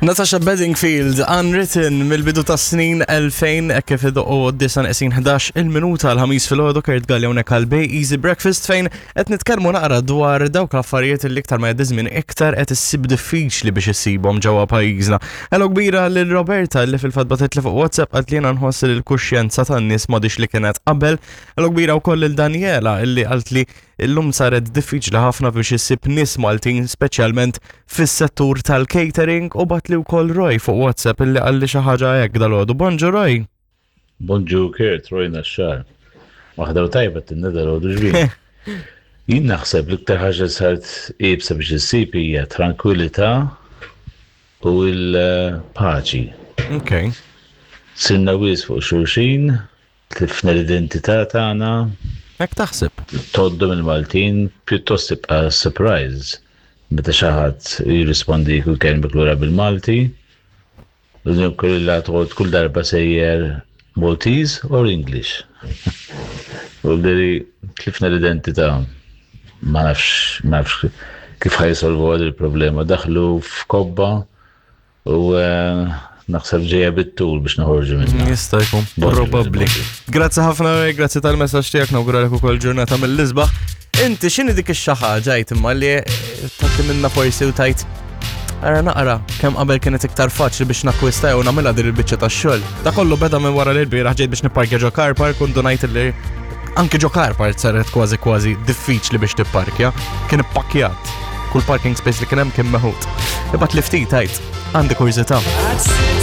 Natasha Bedingfield, Unwritten, mill-bidu ta' snin 2000, hekk kif idoqqu 9 11 il-minuta l-ħamis filgħodu Kurt Galli hawnhekk għal Bay Easy Breakfast fejn qed nitkellmu naqra dwar dawk l-affarijiet li iktar ma jgħaddi żmien iktar qed issib diffiċli biex issibhom ġewwa pajjiżna. Hello kbira lil Roberta li fil-fatt bagħtet li fuq WhatsApp qalt li jiena nħoss li l-kuxjenza tan-nies m'għadix li kienet qabel. Hello kbira wkoll lil Daniela illi qalt li Illum saret diffiċli ħafna biex issib nies Maltin speċjalment fis-settur tal-catering u bagħatli wkoll Roy fuq WhatsApp illi qalli xi ħaġa hekk dalgħodu. Bonġu Roy! Bonġu Kurt, Roy Naxxar. Waħda u tajba tinna dalgħodu ġbin. Jien naħseb l-iktar ħaġa li saret iebsa biex issib hija trankwilità u l-paċi. Ok. Sirna wisq fuq xulxin, Tlifna l-identità tagħna. Hekk taħseb? Tgħoddhom il-Maltin pjuttost tibqa' surprise meta xi ħadd jirrispondik u jkellmek lura bil-Malti. Kollha tgħodd kull darba sejjer Maltese or English. U li tlifna l-identità. Ma nafx, ma nafx kif ħa jsolvu il-problema. Daħlu f'kobba U eh, naħseb ġejja bit-tul biex noħorġu minna. Jista' jkun, probabbli. Grazzi ħafna, grazzi tal-messaġġ tiegħek nawguralek ukoll ġurnata mill-isbaħ. Inti x'inhi dik ix-xi ħaġa imma li eh, tagħti minna forsi u tajt Ara naqra, kemm qabel kienet iktar faċli biex nakwista jew nagħmilha din il-biċċa tax-xogħol. Da kollu beda minn wara li l-bieraħ ġejt biex nipparkja ġo car park u ndunajt li anke ġo car park saret kważi kważi diffiċli biex tipparkja. Kien ippakkjat. Kull parking space li kien hemm kien meħud. Ibgħat li ftit għid, għandi kurżità.